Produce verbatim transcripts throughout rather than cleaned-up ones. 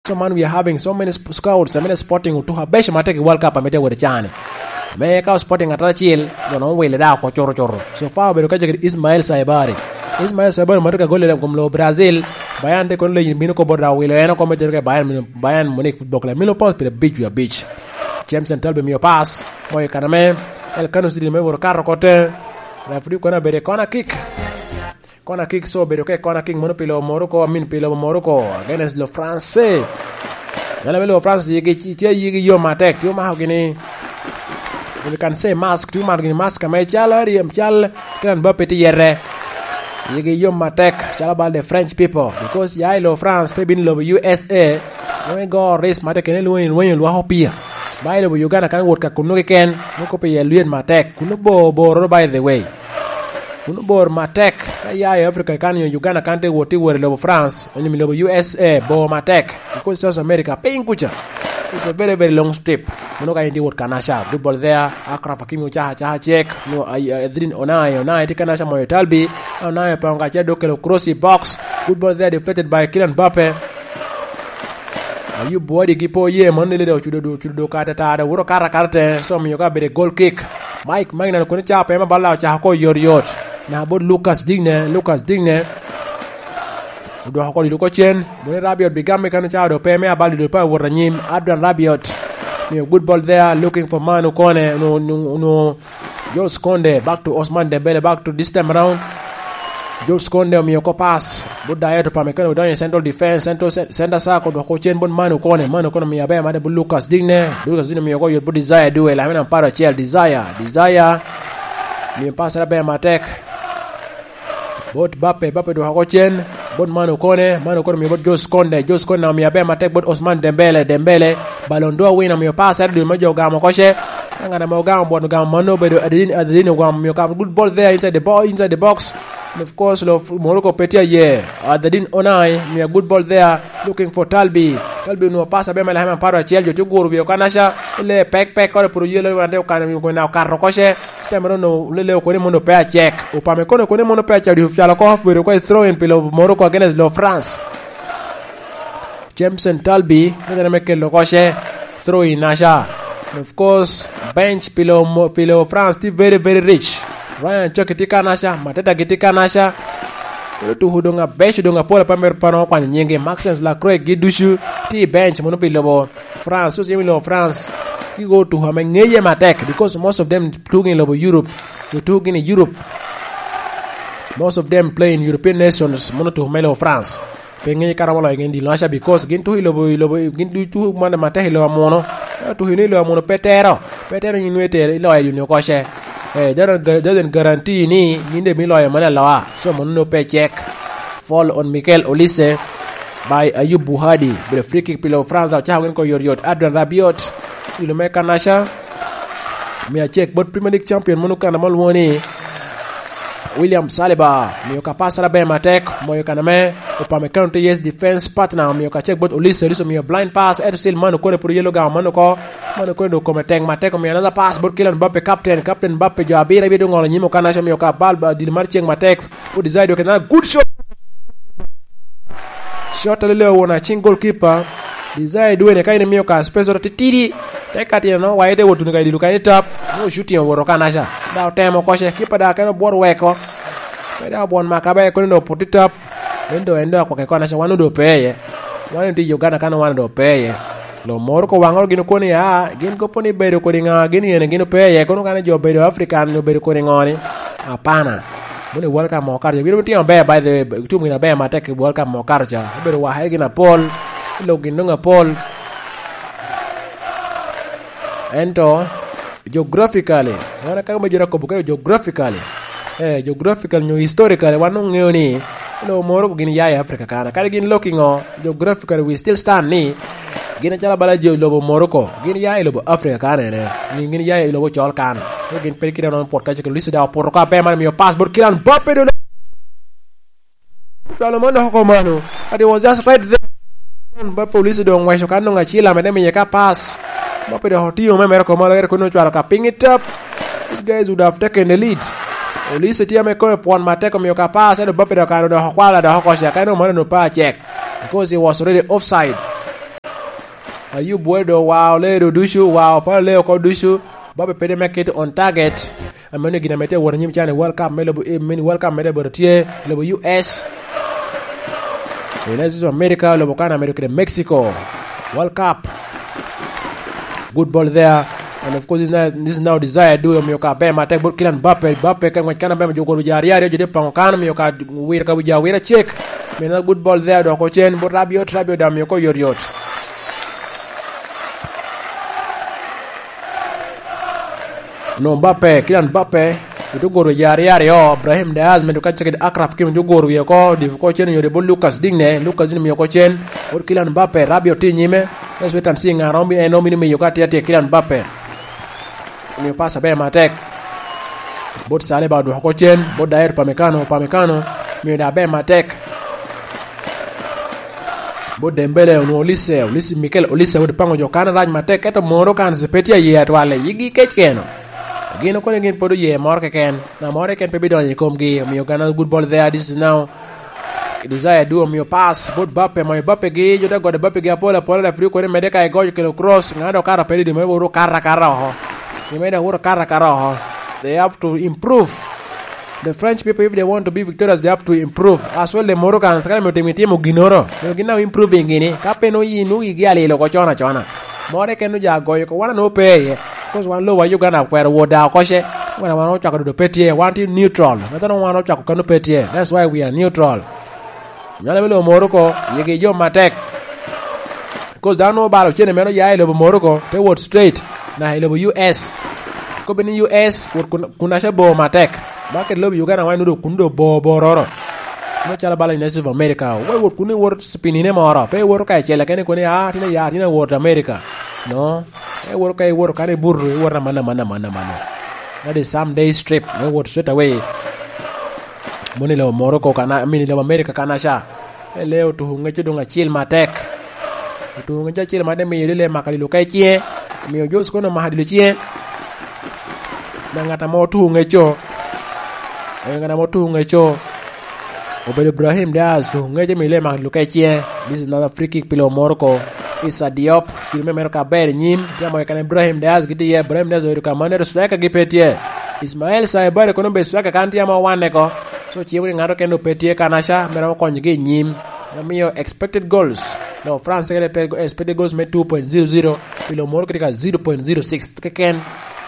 So man, we are having so many sp-, scouts, so many spotting otuko abeco matek i World Cup ame tye wot i cani. Ame ka spotting atara acel, jo nongo wile da oko cuto cuto. So far obedo ka cakere Ismael Saibari. Ismael Saibari ma tye ka golle i kom lobo Brazil. Bayern tye kono leyi bino kobo da wilo en oko me tero ka i Bayern, Bayern Munich Football Club. Mino pass pire abic wi abic. James Talbi mio pass. Moyo kaname. El Kano City me woro kato kote. Referee kono abedo i corner kick. Corner kick, so obedo ka i corner kick mono pi lobo Morocco, I mean, pi lobo Morocco against lo France. Jal me lobo France yigi, tye yigi yom atek, tye omako gini, we can say mask, tye omako gini mask ame cal, cal Kylian Mbappe tye yete. Yigi yom atek, calo bal the French people, because ya i lobo France te bino i lobo U S A, nongo igo race matek kene lweny, lweny olwako pia. Ba i lobo Uganda kan wot ka kunno keken, nongo kop iye lyet matek, kunno bor, bor, by the way. Kun obor matek, ka ya i Africa kan nyo Uganda kan te wot, te wot i lobo France, onyo i lobo U S A, bor matek. Because South America, piny kuca, it's a very, very long trip. Mono ka in tye wot Kanasha, good ball there, Achraf Hakimi ocaka, acaka cek, no, ay-, ay-, Adrien Onai, Onai tye Kanasha moyo Talbi, Onai opongo acel dok kelo cross i box, good ball there, deflected by Kylian Mbappe. Ayub Buwadi gi po ye, man lele dok ocudo, ocudo dok kata tara, wuro kata kata te, so omiyo ka bedo goal kick. Mike Magnan kono ca pe ma balla ocako ko yot yot. Na bot Lucas Digne, Lucas Digne. Odwoko kodi doko cen, bone Rabiot bigam me kano ca do pe me abal do pa wot anyim. Adrian Rabiot. Miyo good ball there, looking for man Okone, no, no, no. Jules Konde, back to Osman Dembele, back to this time around. Jules Konde omiyo ko pass. But Dayot Upamecano odonyo i central defense, central ce-, center circle, dwoko cen bot Manu Kone. Manu Kone omiyo aber made but Lucas Digne. Lucas Digne omiyo ko yot but Desire Due, lamina paro acel. Desire, Desire. Miyo pass aber matek. Bot Bape, Bape dwoko cen. Bot Manu Kone, Manu Kone omiyo bot Jules Konde. Jules Konde omiyo aber matek bot Osman Dembele, Dembele. Ballon d'Or winner omiyo pass ero dul me jo ogamo koce. Ka ngat ame ogamo bot ogamo mano obedo Adedin, Adedin ogamo omiyo kamo good ball there inside the ball, inside the box. And of course, lo Morocco pe tye aye. Adedin Onai omiyo good ball there, looking for Talbi. Talbi onwoŋo pass aber me lakema apar acel, jo tye oguro wi Okanacha. Ile pek pek kore puro yelo wande okano wi okona okato koce. Stem ero no lele okone mono pe acek. Upame kono okone mono pe acek, di ofyalo ko bedo ko throw in pilo Morocco against lo France. Jameson Talbi, ne me kelo koce, throw in aca. And of course, bench pilo Mo-, pilo France tye very, very rich. Ryan Chuck tye kan aca, Mateta gi tye kan aca. Kelo tuku doŋ abeco doŋ apol ape mero pano okwanyo nyingi. Maxence Lacroix gi ducu tye i bench mono pi lobo France, so yam i lobo France. Gigo tuku ame ŋeye matek because most of them tuku i lobo Europe. Otuku gin i Europe. Most of them play in European nations, mono tuku me lobo France. Pe ŋeyo kara waloyo gin dilo aca because gin tuko i lobo, i lobo, gin ducu tuko mane matek i lobo amuno. Ka tuko ino i lobo amuno pe tero, pe tero yin nwe tero iloyo duni oko ce. Eh, doesn't gu-, doesn't guarantee ni yin de mi loyo mane aloa. So mono no pe cek. Fall on Mikel Olise by Ayub Buhadi. Bere free kick pi lobo France, dok cako gin ko yot yot. Adrian Rabiot, ilo me Kanacha. Mia cek bot Premier League champion mono kan amo lwongo ni William Saliba, miyo ka pasara ber matek, moyo kan ame Upamecano tye yes defense partner, miyo ka cek bot Olise, Olise miyo blind pass, eto still mano kore puro yelo gamo mano ko, mano kore do kome tek matek, omiyo another pass bot Kylian Mbappe, captain, captain Mbappe jo abiro abiro ngolo nyimo kan aco, miyo ka bal ba dil mar cek matek, o desire doke na good shot. Shot alele won acing goalkeeper. Desire Dwayne ka in imiyo ka space oro titidi. Te ka tino no, wa ite wot tuno ka i dilo ka i tap. No shooting owoto ka naca. Da otemo koce, kipa da keno bwot weko. Pe da obwon maka be kono no puti tap. Ento en do akwake ko naca, wan odo pe ye. Wan oti Uganda kano wan odo pe ye. Lo moro ko waŋoro gin okoni, a, gin kopo ni bedo kodi ŋa, gin yene gin ope iye, kono kane jo bedo African obedo kodi ŋo ni? Apana. Mono i World Cup mo kato ca, gin otimo aber, by the way, otum gin aber matek i World Cup mo kato ca. Obedo waka gin apol, lok gin doŋ apol. Ento, geographically, wan aka me jiro akobo kede geographically. Eh, geographical nyo historical, wan oŋeo ni, lo moro gin ya i Africa kana. Kadi gin lok i ŋo, geographical we still stand ni gin acalo bala jo lobo Morocco, gin ya i lobo Africa kan ene, ni gin ya i lobo col kan. Ko gin pe kite non pot kace ke Luis da opoto ka pe man miyo pass bot Kylian Mbappe do. Cwalo man dok oko mano. But it was just right there. Mbappe Luis do ngweco kan dong acila mede miye ka pass. Mbappe dok otiyo me mere ko malo ere kono cwalo ka piny i tap. These guys would have taken the lead. Olise tye ame kono pwon matek omiyo ka pass, ento Mbappe dok kano dok okwala dok oko cek, ento mano no pa cek. Because he was already offside. Ayub Wade owao ledo ducu, owao pala lee oko ducu. Mbappe pede me kit on target. Ameno gin ame tye awot anyim can i World Cup me lobo, eh, mini World Cup me lobo tye i lobo U S. United States of America, lobo kan America kede Mexico. World Cup. Good ball there. And of course, this is now, this is now Desire Doe, omiyo ka aber matek bot Kylian Mbappe. Mbappe ka ngwec kan aber, jo goro ja aryo aryo, jo tye poŋo kan, omiyo ka wiro ka wi jo awira cek. Meno good ball there, dok ocen bot Rabiot, Rabiot daŋ omiyo ko yot yot. No, Mbappe, Kylian Mbappe, ote goro ja aryo aryo, Brahim Diaz, medo kacce kede Achraf Hakimi, ote goro wie oko, dipo ko cen onyo bot Lucas Digne, Lucas Digne omiyo ko cen, bot Kylian Mbappe, Rabiot tye i nyime, Wes Wetan Sing, ŋa romo, en romo bino miyo ka tye atye Kylian Mbappe. Omiyo pas aber matek. Bot Saliba odwoko ko cen, bot Dayot Upamecano, Upamecano, miyo daŋ aber matek. Bot Dembele onwoŋo Olise, Olise, Mikel Olise owot paŋo jo kan arac matek, ento moro kan pe tye aye atwal, yigi kec keno. Gin okone gin pwod oye moro keken, na moro keken pe bidonyo i komgi, omiyo gana good ball there, this is now Desire Doe omiyo pass, bot Bappe, omayo Bappe gi, jo te gode Bappe gi apol apol, referee koni medde ka igoyo kelo cross, ŋa dok kato pede di me wot okato akata oko. Di me dok wot okato akata oko. They have to improve. The French people, if they want to be victorious, they have to improve. As well, the Moroccan, sakana myero timo, timo ginnoro. Myero gin now improving gini. Ka pe no yi, nu yigi alilo ko cona cona. More keno ja goyo ko, wan ano pe iye. Because wan lowa Uganda okwero wot da oko ce. Wan, wan ocwako dodo pe tye. Wan tye neutral. Metono wan ocwako kano pe tye. That's why we are neutral. Nyalo me lobo Morocco, yigi jo matek. Because dano obalo cene meno ya i lobo Morocco, te wot straight, na i lobo U S. Kobbe ni U S, wot kun, kun aca bor matek. Ba kede lobo Uganda wan nudo kun do bor bororo. Me calo bala United States of America, wa wot kun iwot pinine moro, pe iwoto ka icel, kene koni, "Ah, tin aya, tin awot America." No, iwoto ka iwoto kan ibuto, iwoto amanna, amanna, amanna, amanna. That is some days trip, me wot straight away. Mono i lobo Morocco kana, I mean, i lobo America kana ca. Ele otuko ŋec doŋ acil matek. Otuko ŋec acil matek, miyo lile maka dilo ka i ciŋe. Miyo Jose kono maka dilo ciŋe. Na ŋat amo otuko ŋecco. Eh, ŋat amo otuko ŋecco. Obedo Ibrahim Diaz, otuko ŋec, miyo lile maka dilo ka i ciŋe. This is another free kick pi lobo Morocco. Issa Diop, kit me mero ka ber i nyim, tye amo keken Ibrahim Diaz gitye iye, Ibrahim Diaz obedo ka manero, striker gi pe tye. Ismael Saibare kono obedo striker kan tye amo owanne ko. So, cimo ni ŋato kene pe tye kan aca, mero amo konyogi i nyim. Omiyo expected goals. No, France kede pe expected goals me two point zero zero, pi lobo Morocco tye ka zero point zero six keken.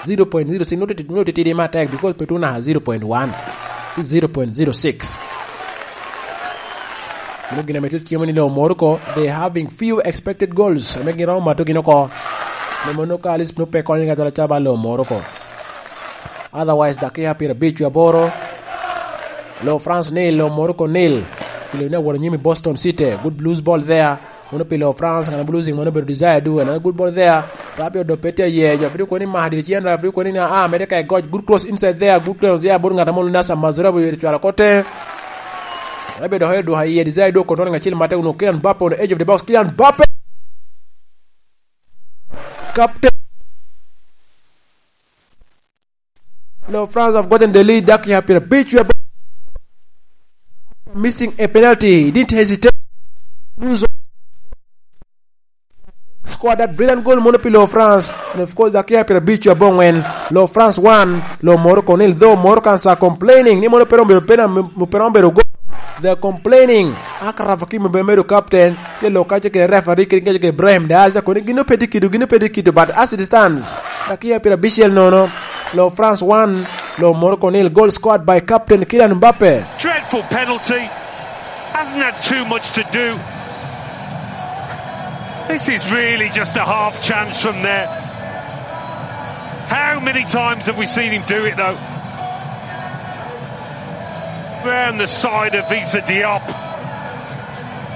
Zero point zero six, nwoŋo titidi, nwoŋo titidi matek, because pe tuŋ naka zero point one. Zero point zero six. Mano gin ame tye cimo ni lobo Morocco, they having few expected goals. Ame gin romo mato gin oko. Me mano ka Alice nwoŋo pe konyo ka dwala ca ba lobo Morocco. Otherwise, dakiya pyerabic wie aboro. Lobo France nil, lobo Morocco nil. Kilo ne aworo nyim i Boston City. Good blues ball there. Mano pi lobo France, ŋat ame losing mano obedo Desire Doe, another good ball there. Rabiot do pe tye aye, jo Afrika koni maka dye cen, Afrika koni na, ah, mede ka igoc, good cross inside there, good cross there, bot ŋat amo Nasser Mazraoui oyeto cwalo kote. Rabiot dok odwoko iye, Desire Doe controlling acel matek, onwoŋo Kylian Mbappe on the edge of the box, Kylian Mbappe! Captain. Now France have gotten the lead, dakiya pyerabic, we are missing a penalty. He didn't hesitate. Lose scored that brilliant goal, mono pi lobo France. And of course, dakiya pyerabic abongwen. Lobo France one, lobo Morocco nil. Though Moroccans are complaining ni mono pe romo bedo pena, pe romo bedo goal. They're complaining. Achraf Hakimi obedo medo captain. Tye lok kacel kede referee, kede kacel kede Ibrahim Diaz, koni gin pe tye kido, gin pe tye kido, but as it stands, dakiya pyerabicel nono, lobo France one, lobo Morocco nil, goal scored by captain Kylian Mbappe. Dreadful penalty. Hasn't had too much to do. This is really just a half chance from there. How many times have we seen him do it, though? Round the side of Issa Diop.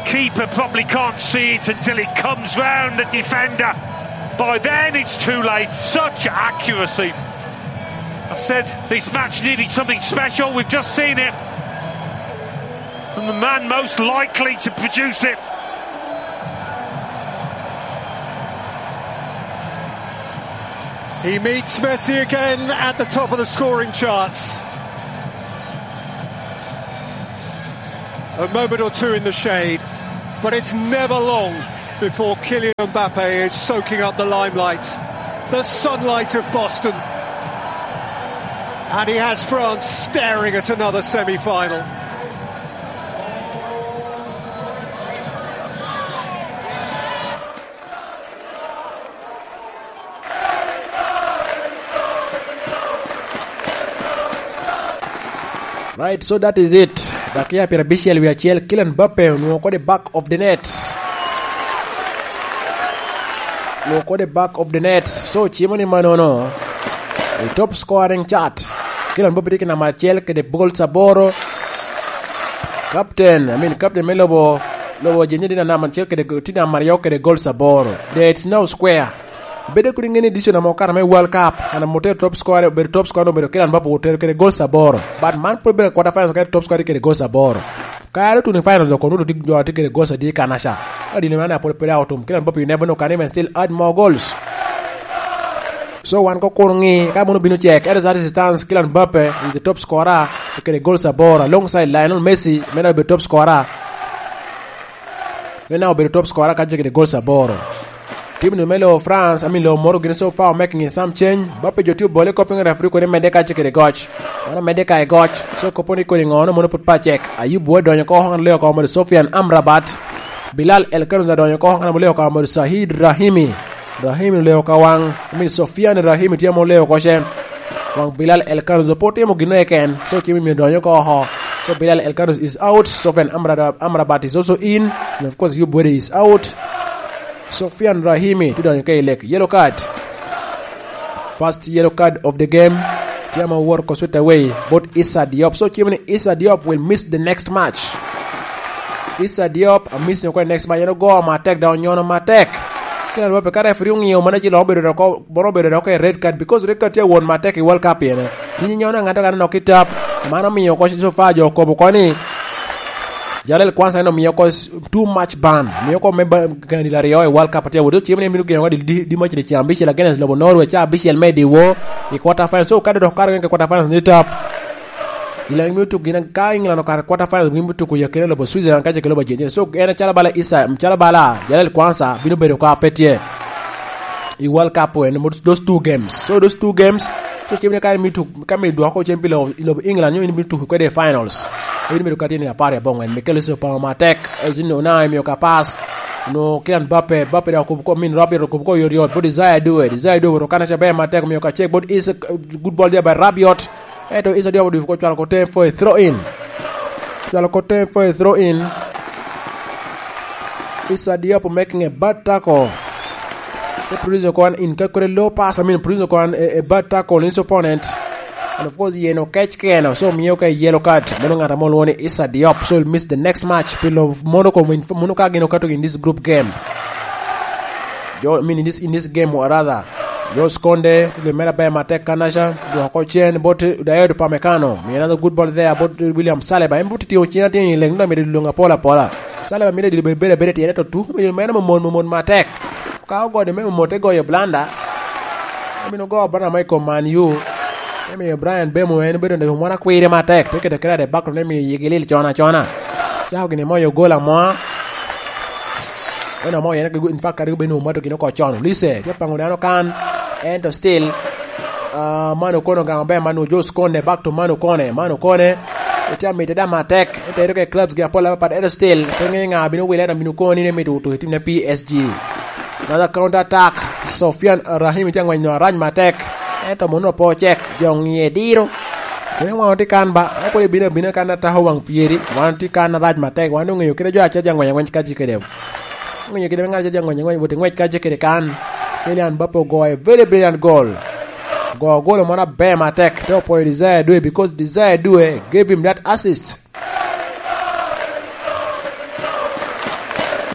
Keeper probably can't see it until it comes round the defender. By then, it's too late. Such accuracy. I said this match needed something special. We've just seen it from the man most likely to produce it. He meets Messi again at the top of the scoring charts. A moment or two in the shade, but it's never long. Before Kylian Mbappe is soaking up the limelight, the sunlight of Boston. And he has France staring at another semi-final. Right, so that is it. Dakia pyerabicel wie acel, Kylian Mbappe onwoŋo kede back of the net. Onwoŋo kede back of the net. So, cimo ni manono, i top scoring chart, Kylian Mbappe tye ki namba acel kede goals aboro. Captain, I mean, captain me lobo, lobo Argentina tye namba acel kede, tye namba aryo kede goals aboro. There is no square. Bedo kodi ŋeni edition ame okato me World Cup, an ame otero top scorer, obedo top scorer, obedo Kylian Mbappe, otero kede goals aboro. But man pwod bedo quarter finals, ka top scorer kede goals aboro. Ka ero tuno i finals, dok kono tye jo a tye kede goals adi kanaca. Ka dini man apol pwod pe otum, Kylian Mbappe, you never know, can even still add more goals. So wan ko kun ŋi, ka mono bino cek, ero that is stance, Kylian Mbappe is the top scorer, kede goals aboro, alongside Lionel Messi, meno obedo top scorer. Meno obedo top scorer ka tye kede goals aboro. Tim nu me lo France, I mean, lo moro gin so far making some change. Mbappe jo tye obole kop piny referee kodi medde ka tye kede goc. Mano medde ka i goc. So kopo ni kodi ŋo, no mono put pa cek. Ayub Buwe donyo ko, hong leo ko modo Sofiane Amrabat. Bilal El Kherous donyo ko, hong leo ko modo Said Rahimi. Rahimi leo ka waŋ. I mean, Sofiane Rahimi tye mo leo ko cen. Waŋ Bilal El Kherous po timo gin eken. So cimi mi donyo ko oho. So Bilal El Kherous is out. Sofiane Amra-, Amrabat is also in. And of course, Ayub Buwe is out. Sofiane Rahimi tye donyo ka i lek. Yellow card. First yellow card of the game. Tye ame owor ko straight away. Bot Issa Diop. So cimo ni Issa Diop will miss the next match. Issa Diop a miss ko next match. En ogo matek, dok onyono matek. Kina lwa pe ka referee ong'iyo mana ci lok obedo dok, bono obedo dok e red card, because red card tye awon matek i World Cup ene. Yin inyono aŋat ka nok i tap. Mano omiyo ko so far jo okobo ko ni Jarel Kwanza en omiyo ko s-, too much ban. Miyo ko me ba-, gani laryo i World Cup tye awot. Cimo ni mino geno di, di, di mac ni cam abicel against lobo Norway, ca abicel me diwo i quarter final. So ka dok kare ke quarter final ni tap. Ilang mi otuk gin ka England okare quarter final, mi otuk ya kene lobo Switzerland ka je ke lobo Argentina. So en calo bala Isa, calo bala Jarel Kwanza bino bedo ka pe tye i World Cup en, those two games. So those two games, so cimo ni ka mi tuk, ka mi dwoko cen pi lobo, lobo England, nyo in bino tuko kwede i finals. Bino bedo ka tye ni apar i abongwen. Mikel Oso pamo matek. Ezino na miyo ka pass. No Kylian Mbappe, Mbappe da kubo ko min Rabiot kubo ko yot yot. Bot Desire Due, Desire Due oto kana ca ber matek miyo ka check. Bot is a good ball there by Rabiot. Eto Issa Diop oduko ko cwalo ko tem for a throw in. Cwalo ko tem for a throw in. Issa Diop making a bad tackle. Te produce ko an in ka kore low pass, I mean, produce ko an a, a bad tackle in his opponent. And of course, yen okec keno, so miyo ka yellow card. Mono ŋat amo lwongo ni Issa Diop, so he'll miss the next match. Pilo mono ko min, mono ka gin okato in this group game. Jo, I mean, in this, in this game, or rather, Jules Kounde, tye mere aber matek kanaca, dwoko cen bot Dayot Upamecano. Mi another good ball there bot William Saliba. En bot tye ocina tye i leng, dok mito luŋ apola apola. Saliba mito dilo bedo, bedo, bedo tyene to tu, mi meno momon, momon matek. Ka ogodo me momon te goyo blanda. Amino go bana ma i kom Man U. Emiyo Brian Mbeumo en obedo neno mwana kwire matek. Te kede kede de bakro ne mi yigi lil cona cona. Cako gini moyo gol amoa. En amo yen, in fact, kadi obed ni omato gin oko con. Olise, tye pango dano kan. Ento still, ah, Manu Kone ogamo ber, Manu Jules Kounde, back to Manu Kone. Manu Kone, itye amite da matek. Ento ero ke clubs gi apol apapat, ento still, pe ŋe ŋa bino wile, ento bino koni ni mito tuko i team ne P S G. Another counter attack. Sofiane Rahimi tye ang'weny no arac matek. Ento mono opo cek. Jo ŋiye diro. Kene waŋ otye kan ba. Epwod ebino abina kan atako waŋ pyeri. Wan tye kan arac matek. Wan oŋeyo kede jo aca jo ang'weny ang'weny ka tye kede. Oŋeyo kede ŋat aca jo ang'weny ang'weny wot i ng'wec ka tye kede kan. Kylian Mbappe ogoyo a very brilliant goal. Ogoyo gol moro aber matek. Te opwoyo Desire Due because Desire Due gave him that assist.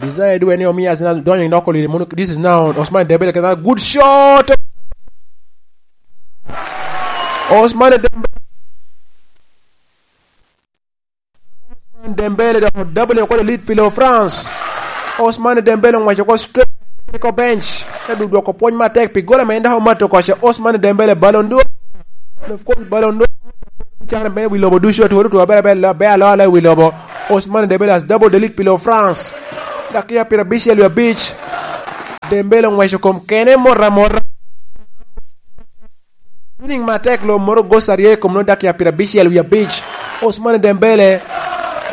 Desire Due ni omiyo Arsenal donyo i noko liri. This is now Ousmane Dembele, another good shot. Ousmane Dembele. Ousmane Dembele dok double oko lead pi lo France. Ousmane Dembele oŋweco oko straight oko bench. Te du dwoko pwony matek pi gola ma en dok omato koce. Ousmane Dembele Ballon d'Or. And of course, Ballon d'Or. Can bene wi lobo ducu, atwero two aber aber, be alo alo wi lobo. Ousmane Dembele has double the lead pi lo France. Dakiya pira abicel wie abic. Dembele oŋweco kom kene mot amota. Winning matek lo moro goc aryo i kom nongo dakiya pira abicel wie abic. Ousmane Dembele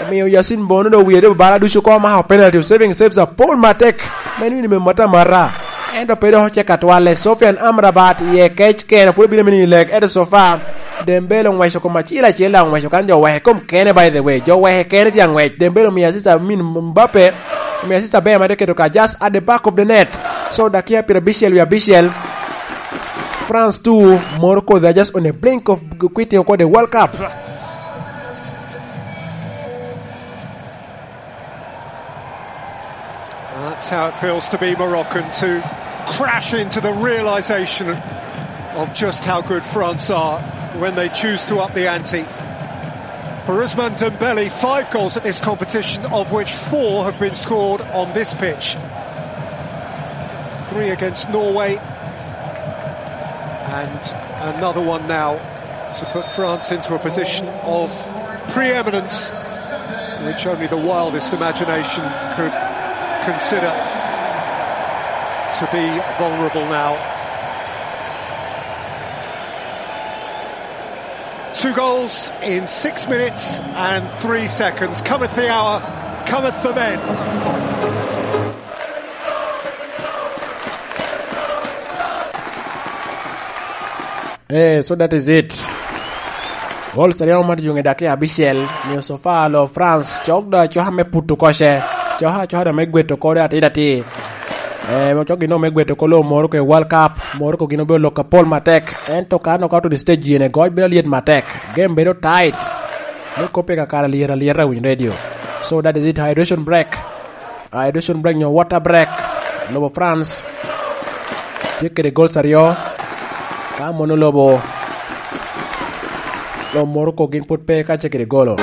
omiyo Yasin Bono do wiye do bala ducu oko, mako penalty, saving saves apol matek. Men wini me mata mata. Ento pe dok ocek atwalle. Sofian Amrabat iye kec kene pwod obino mini i leg, ento so far Dembele oŋweco kom acel acel, daŋ oŋweco kan jo weke kom kene, by the way. Jo weke kene tye aŋwec. Dembele omiyo assist Amin Mbappe, omiyo assist aber ma tye keto ka just at the back of the net. So, dakiya pira abicel wie abicel. France two, Morocco, they're just on a blink of quitting oko the World Cup. That's how it feels to be Moroccan, to crash into the realisation of just how good France are when they choose to up the ante. For Ousmane Dembele, five goals at this competition, of which four have been scored on this pitch. Three against Norway, and another one now to put France into a position of preeminence, which only the wildest imagination could consider to be vulnerable now. Two goals in six minutes and three seconds. Cometh the hour, cometh the men. Eh, so that is it. Goals aryo ma tye i dakiya abicel, miyo so far lo France cok do acoka me puto koce. Coka acoka do me gweto kore atir atir. Eh, cok gin me gweto kolo Morocco i World Cup. Morocco gin obedo lok apol matek. Ento ka nok out to the stage yene goc bedo lyet matek. Game bedo tight. Me kope kakare alyet alyet a winy radio. So that is it. Hydration break. Hydration break nyo water break. Lobo France tye kede goals aryo. Ka mono lobo, lobo Morocco gin pwod pe ka tye kede golo.